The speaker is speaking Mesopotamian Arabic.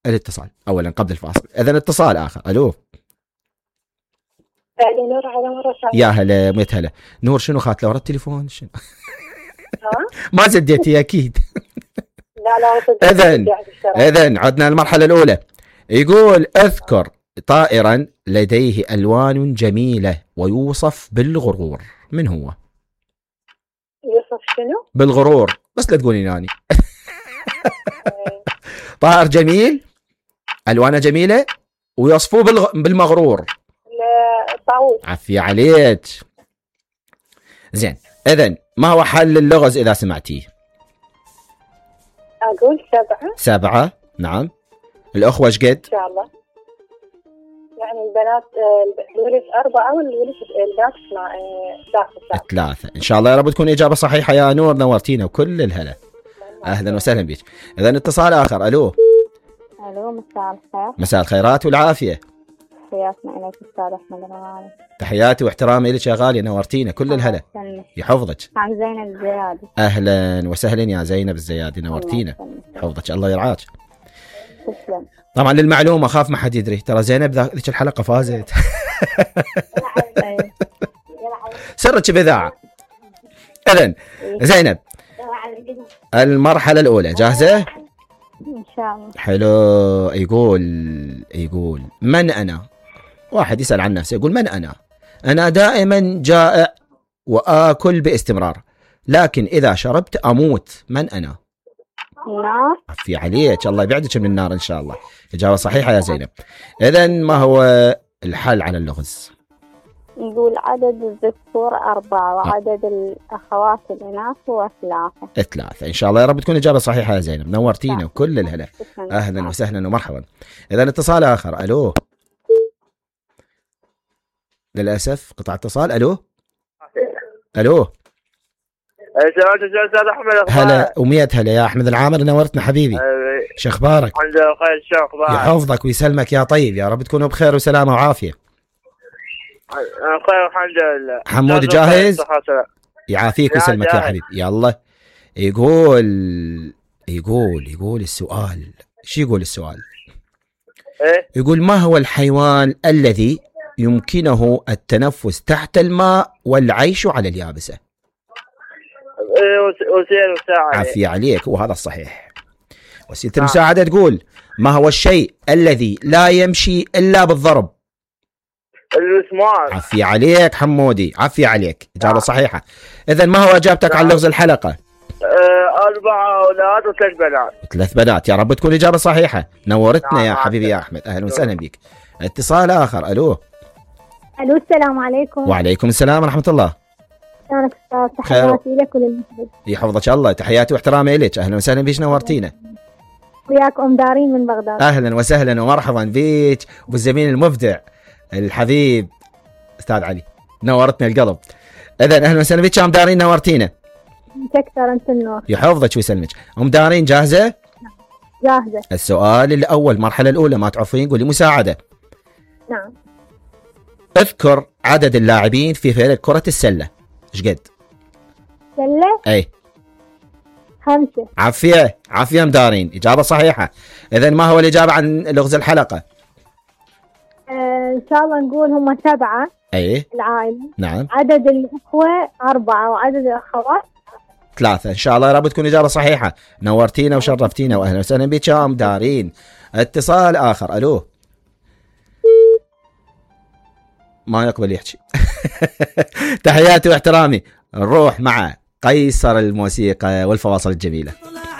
الاتصال اولا قبل الفاصل. اذا اتصال اخر. الو. نور على مرة ثانية. يا هلا ميت هلا. نور شنو خات ورا التليفون شنو؟ ما سديتي اكيد. لا اذن عدنا المرحلة الاولى. يقول اذكر طائرا لديه الوان جميلة ويوصف بالغرور. من هو؟ يوصف شنو؟ بالغرور. بس لا تقولي ناني. طائر جميل الوانه جميلة ويوصفوه بالمغرور. الطاووس. عفية عليك. زين اذن ما هو حل اللغز اذا سمعتيه؟ اقول 7. 7 نعم. الاخوة ايش قد؟ ان شاء الله يعني البنات الولد 4 والبنات 3. ان شاء الله يا رب تكون اجابة صحيحة يا نور. نورتينا وكل الهلا. اهلا وسهلا بك. اذا اتصال اخر. الو. الو مساء الخير. مساء الخيرات والعافية. تحياتنا اليك استاذ احمد الغالي. تحياتي واحترامي لك يا غالية. نورتينا كل الهلا. يحفظك. عن زينب الزيادي. اهلا وسهلا يا زينب الزيادي. نورتينا. يحفظك الله يرعاك. تسلم. طبعا للمعلومة اخاف ما حد يدري ترى زينب ذيك الحلقة فازت. سرك بإذاعة. اذن زينب المرحلة الأولى جاهزة؟ إن شاء الله. حلو. يقول من أنا؟ واحد يسأل عن نفسه يقول من أنا؟ أنا دائما جائع وآكل باستمرار لكن إذا شربت أموت. من أنا؟ النار. عفي عليك الله يبعدك من النار إن شاء الله. إجابة صحيحة يا زينب. إذن ما هو الحل على اللغز؟ نقول عدد الذكور 4 وعدد الأخوات الإناث هو 3. إن شاء الله يا رب تكون إجابة صحيحة يا زينب. نورتينا وكل الهلا. أهلا وسهلا ومرحبا. إذا اتصال آخر. ألو. للأسف قطع اتصال. ألو. استاذ احمد. هلا وميت هلا يا احمد العامر. نورتنا حبيبي. شو اخبارك؟ الحمد لله بخير. شو اخبارك؟ يحفظك ويسلمك يا طيب. يا رب تكونوا بخير وسلامه وعافيه. بخير الحمد لله. حمود جاهز؟ يعافيك ويسلمك يا حبيبي. يلا. يقول السؤال. شو يقول السؤال؟ ايه؟ يقول ما هو الحيوان الذي يمكنه التنفس تحت الماء والعيش على اليابسة؟ وسيلة المساعدة. عافية عليك وهذا الصحيح. وسيلة المساعدة تقول ما هو الشيء الذي لا يمشي إلا بالضرب؟ المسمار. عافية عليك حمودي. عافية عليك. إجابة صحيحة. إذن ما هو إجابتك عن لغز الحلقة؟ 4 أولاد و3 بنات. 3 بنات. يا رب تكون إجابة صحيحة. نورتنا يا نعم. حبيبي يا أحمد. أهلا وسهلا بك. اتصال آخر. ألو. السلام عليكم. وعليكم السلام ورحمة الله. شلونك أستاذ؟ تحياتي لك وللمحبوب. يحفظك الله. تحياتي واحترامي لك. أهلا وسهلا بك. نورتينا. وياك أم دارين من بغداد. أهلا وسهلا ومرحبا بك وبالزميل المبدع الحبيب أستاذ علي. نورتنا القلب. إذن أهلا وسهلا بك أم دارين. نورتينا. تكثر أنت النور. يحفظك ويسلمك. أم دارين جاهزة؟ جاهزة. السؤال الأول المرحلة الأولى ما تعرفين قولي مساعدة. نعم. اذكر عدد اللاعبين في فريق كرة السلة. ايش قد؟ سلة. اي 5. عافية مدارين. إجابة صحيحة. إذن ما هو الإجابة عن لغز الحلقة؟ إن شاء الله نقول هم 7. اي العائلة. نعم. عدد الأخوة 4 وعدد الأخوات 3. إن شاء الله يا رب تكون إجابة صحيحة. نورتينا وشرفتينا وأهلا وسهلا بك يا مدارين. اتصال آخر. ألو. ما يقبل يحكي. تحياتي واحترامي. نروح مع قيصر الموسيقى والفواصل الجميلة.